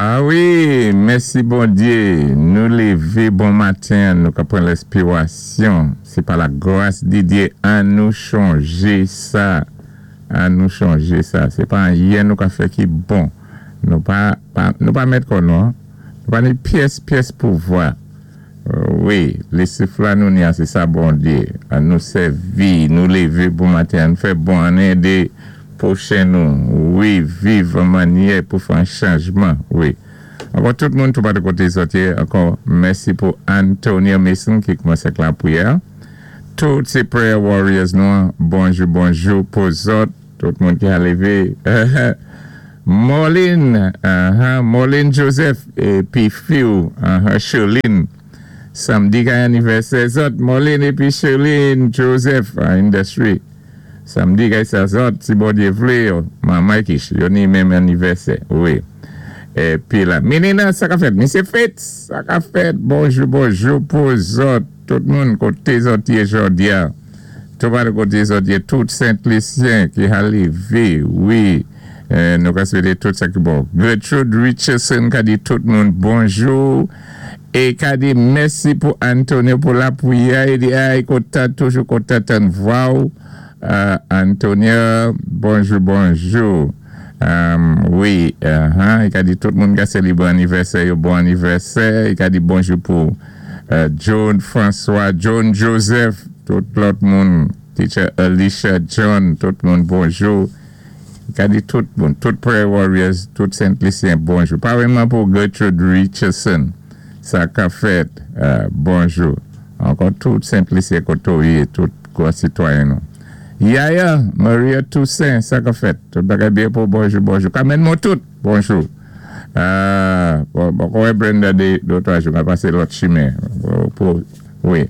A wi, mèsi Bondyé, nou lévé bon maten, nou ka pran lèspirasyon, sé pa la gras di Dyé. An nou chonjé sa, an nou chonjé sa, sé pa anyen nou ka fè ki bon, nou pa mèt kò nou, nou pa ni pyès pyès pouvwa. Wi, lé souf la nou ni a, sé sa Bondyé. An nou sèvi, nou lévé bon maten, an nou fè bon, an édé pwochen nou, wi, viv an mannyè pou fè an chanjman, wi. Ankò tout moun tou patou koté zòt yé, ankò mèsi pou Antonio Mason ki koumansé ak lapwiyè. Tout sé prayer warriors nou, bonjou, bonjou pou zòt, tout moun ki a lévé. Marlene, Marlene Joseph, épi fi-w, Sherline, samdi kay anivèsè zòt, Marlene épi Sherline Joseph, Industry. Samdi kay sa zòt, si Bondyé vlé yo, manman ki yo ni menm anivèsè, wi. Épi la, Menina, sa ka fèt, Misye Fitz, sa ka fèt, bonjou, bonjou pou zòt, tout moun koté zòt yé jòdi-a. Tout pa koté zòt yé, tout Sent-Lisyen ki a lévé, wi, nou ka swété tout sa ki bon. Gertrude Richardson ka di tout moun bonjou, é ka di mèsi pou Antonio pou lapwiyè, i di ay kontan, toujou kontan tann vwa-w. Antonio, bonjou, bonjou. Wi, i ka di tout moun ka sélébwé anivèsè yo, bon anivèsè. I ka di bonjou pou John François, John Joseph, tout lòt moun, Teacher Alicia John, tout moun bonjou. I ka di tout moun, tout prayer warriors, tout Sent-Lisyen, bonjou. Parèyman pou Gertrude Richardson, sa ka fèt, bonjou. Ankò tout Sent-Lisyen koté ou yé, tout gwo sitwayen nou. Yaya, Maria Toussaint, sa ka fèt. Tout bagay byen pou bonjou, bonjou. Kamèn mwen tout, bonjou. Bon, kouwè Brenda de dotwa jou, ka pasé lòt chimen. Pou, wi.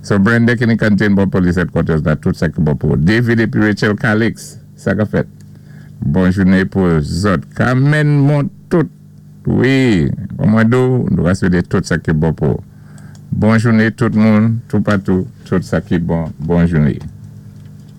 So Brenda ki ni kantin bon police headquarters la, tout sa ki bon pou. David épi Rachel Calix, sa ka fèt. Bon jouné pou zòt. Kamèn mwen tout, wi. Mwen do, nou ka swété tout sa ki bon pou. Bon jouné tout moun, tout patou, tout sa ki bon. Bon jouné.